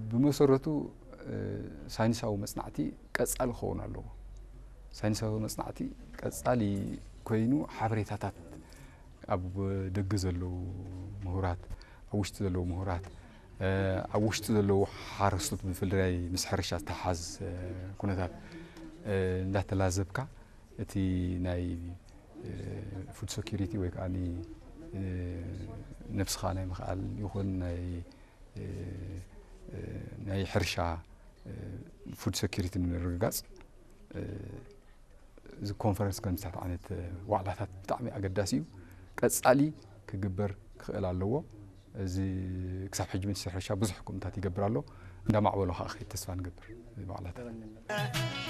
ብመሰረቱ ሳይንሳዊ መፅናዕቲ ቀፃሊ ክኸውን ኣለዎ። ሳይንሳዊ መፅናዕቲ ቀፃሊ ኮይኑ ሓበሬታታት ኣብ ደገ ዘለዉ ምሁራት፣ ኣብ ውሽጢ ዘለዉ ምሁራት፣ ኣብ ውሽጢ ዘለዉ ሓረስቶት ብፍላይ ምስ ሕርሻ ዝተሓዝ ኩነታት እንዳተላዘብካ እቲ ናይ ፉድ ሴኩሪቲ ወይ ከዓ ነብስኻ ናይ ምኽኣል ይኹን ናይ ናይ ሕርሻ ፉድ ሴኩሪቲ ንምርግጋፅ እዚ ኮንፈረንስ ከምዚታት ዓይነት ዋዕላታት ብጣዕሚ ኣገዳሲ እዩ። ቀፃሊ ክግበር ክኽእል ኣለዎ። እዚ ክሳብ ሕጂ ሚኒስትር ሕርሻ ብዙሕ ከምታት ይገብር ኣሎ። እንዳማዕበሎ ከዓ ክኸይድ ተስፋ ንገብር። እዚ ዋዕላታት